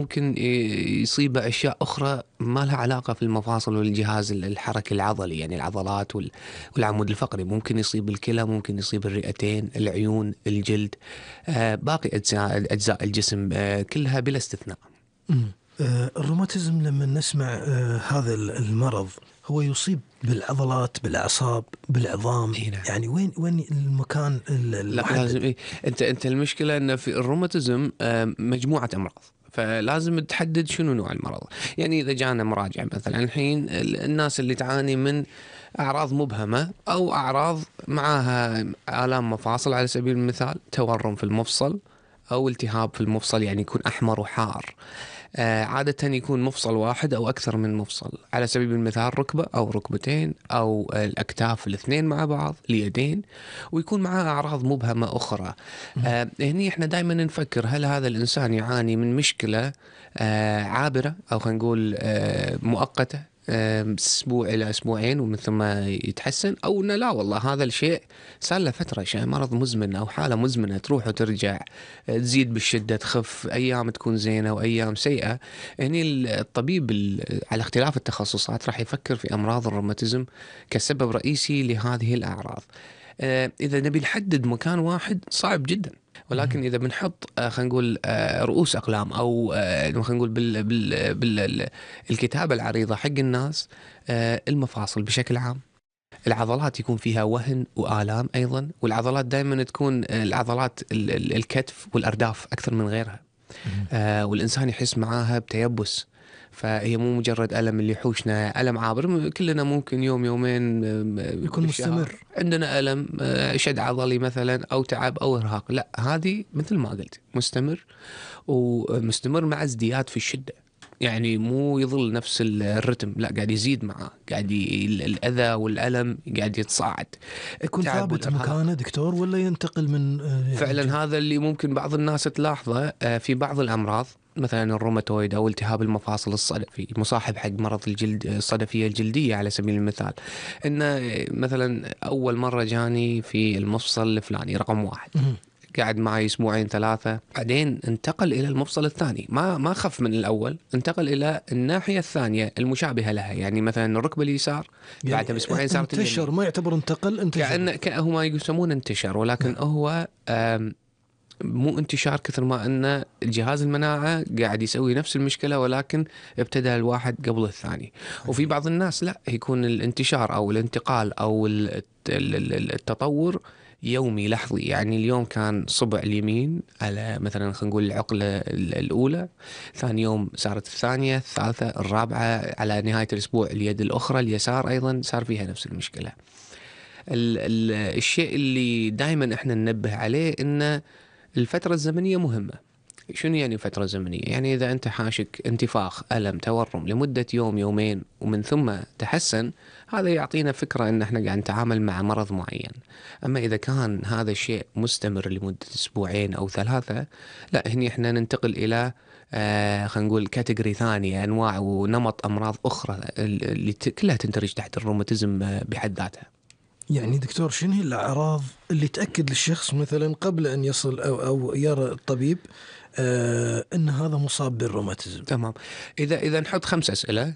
ممكن يصيبه أشياء أخرى ما لها علاقة في المفاصل والجهاز الحركي العضلي، يعني العضلات والعمود الفقري. ممكن يصيب الكلى، ممكن يصيب الرئتين، العيون، الجلد، باقي أجزاء الجسم كلها بلا استثناء. الروماتيزم لما نسمع هذا المرض هو يصيب بالعضلات، بالأعصاب، بالعظام. نعم. يعني وين المكان لا لازم انت المشكلة ان في الروماتيزم مجموعة امراض، فلازم تحدد شنو نوع المرض. يعني اذا جانا مراجع مثلا الحين، الناس اللي تعاني من اعراض مبهمة او اعراض معها آلام مفاصل، على سبيل المثال تورم في المفصل او التهاب في المفصل، يعني يكون احمر وحار. عادة يكون مفصل واحد أو أكثر من مفصل، على سبيل المثال ركبة أو ركبتين أو الأكتاف الاثنين مع بعض، اليدين، ويكون معاه أعراض مبهمة أخرى. هني إحنا دائما نفكر هل هذا الإنسان يعاني من مشكلة عابرة، أو خلينا نقول مؤقتة، أسبوع إلى أسبوعين ومن ثم يتحسن، أو إنه لا والله هذا الشيء صار له فترة، شيء مرض مزمن أو حالة مزمنة تروح وترجع، تزيد بالشدة، تخف، أيام تكون زينة وأيام سيئة. يعني الطبيب على اختلاف التخصصات راح يفكر في أمراض الروماتيزم كسبب رئيسي لهذه الأعراض. إذا نبي نحدد مكان واحد صعب جدا، ولكن إذا بنحط خلينا نقول رؤوس أقلام، أو خلينا نقول بالكتابة العريضة حق الناس، المفاصل بشكل عام، العضلات يكون فيها وهن وآلام أيضا، والعضلات دائما تكون العضلات الكتف والأرداف أكثر من غيرها. والإنسان يحس معاها بتيبس، فهي مو مجرد ألم اللي يحوشنا ألم عابر، كلنا ممكن يوم يومين يكون مستمر عندنا ألم، شد عضلي مثلا أو تعب أو إرهاق. لا، هذه مثل ما قلت مستمر، ومستمر مع ازدياد في الشدة، يعني مو يظل نفس الرتم، لا قاعد يزيد معاه، قاعد الأذى والألم قاعد يتصاعد. يكون ثابت مكانه دكتور ولا ينتقل من فعلا هذا اللي ممكن بعض الناس تلاحظه في بعض الأمراض، مثلا الروماتويد أو التهاب المفاصل الصدفي، مصاحب حق مرض الجلد، الصدفية الجلدية على سبيل المثال. إنه مثلا أول مرة جاني في المفصل الفلاني رقم 1، قاعد معي أسبوعين 3، بعدين انتقل إلى المفصل الثاني، ما خف من الأول، انتقل إلى الناحية الثانية المشابهة لها، يعني مثلا الركبة اليسار يعني بعد بأسبوعين صارت انتشر، ما يعتبر انتقل، انتشر. كأنه ما يسمونه انتشر، ولكن هو مو انتشار كثر ما أن الجهاز المناعة قاعد يسوي نفس المشكلة، ولكن ابتدى الواحد قبل الثاني. وفي بعض الناس لا، يكون الانتشار أو الانتقال أو التطور يومي لحظي، يعني اليوم كان صبع اليمين على مثلا خلينا نقول العقلة الأولى، ثاني يوم صارت الثانية، الثالثة، الرابعة، على نهاية الأسبوع اليد الأخرى اليسار أيضا صار فيها نفس المشكلة. الشيء اللي دائما احنا ننبه عليه إن الفترة الزمنية مهمة. شنو يعني فترة زمنية؟ يعني إذا أنت حاشك انتفاخ، ألم، تورم لمدة يوم يومين ومن ثم تحسن، هذا يعطينا فكرة أن احنا قاعد نتعامل مع مرض معين. أما إذا كان هذا الشيء مستمر لمدة أسبوعين أو 3، لا، هني احنا ننتقل إلى خلينا نقول كاتيجوري ثانية، أنواع ونمط أمراض أخرى اللي كلها تندرج تحت الروماتيزم بحد ذاتها. يعني دكتور، شنو هي الأعراض اللي تأكد للشخص مثلا قبل أن يصل أو يرى الطبيب أن هذا مصاب بالروماتيزم؟ تمام. إذا نحط 5 أسئلة،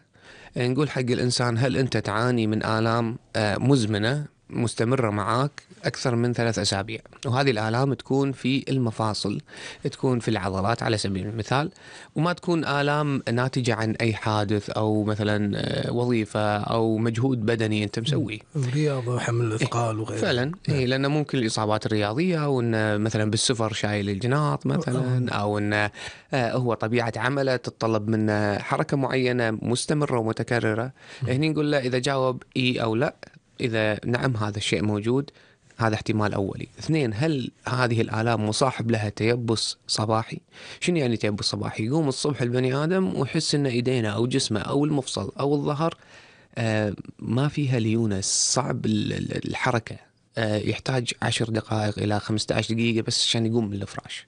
نقول حق الإنسان: هل أنت تعاني من آلام مزمنة مستمرة معاك أكثر من 3 أسابيع؟ وهذه الآلام تكون في المفاصل، تكون في العضلات على سبيل المثال، وما تكون آلام ناتجة عن أي حادث أو مثلا وظيفة أو مجهود بدني أنت مسويه، رياضة، حمل أثقال وغيرها. فعلا لأن ممكن الإصابات الرياضية، أو إن مثلا بالسفر شايل الجناط مثلا، أو إن هو طبيعة عمله تتطلب منه حركة معينة مستمرة ومتكررة. هني نقول له إذا جاوب إي أو لا. إذا نعم هذا الشيء موجود، هذا احتمال أولي. 2، هل هذه الآلام مصاحب لها تيبس صباحي؟ شنو يعني تيبس صباحي؟ يقوم الصبح البني آدم ويحس إن إيدينه أو جسمه أو المفصل أو الظهر ما فيها ليونة، صعب الحركة، يحتاج 10 دقائق إلى 15 دقيقة بس عشان يقوم من الفراش،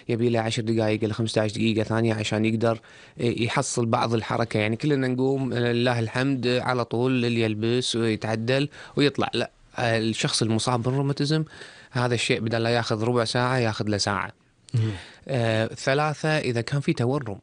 يبي له 10 دقائق إلى 15 دقيقة ثانية عشان يقدر يحصل بعض الحركة. يعني كلنا نقوم لله الحمد على طول، اللي يلبس ويتعدل ويطلع. لا، الشخص المصاب بالروماتيزم هذا الشيء بدل لا ياخذ ربع ساعة ياخذ له ساعة. 3، إذا كان في تورم،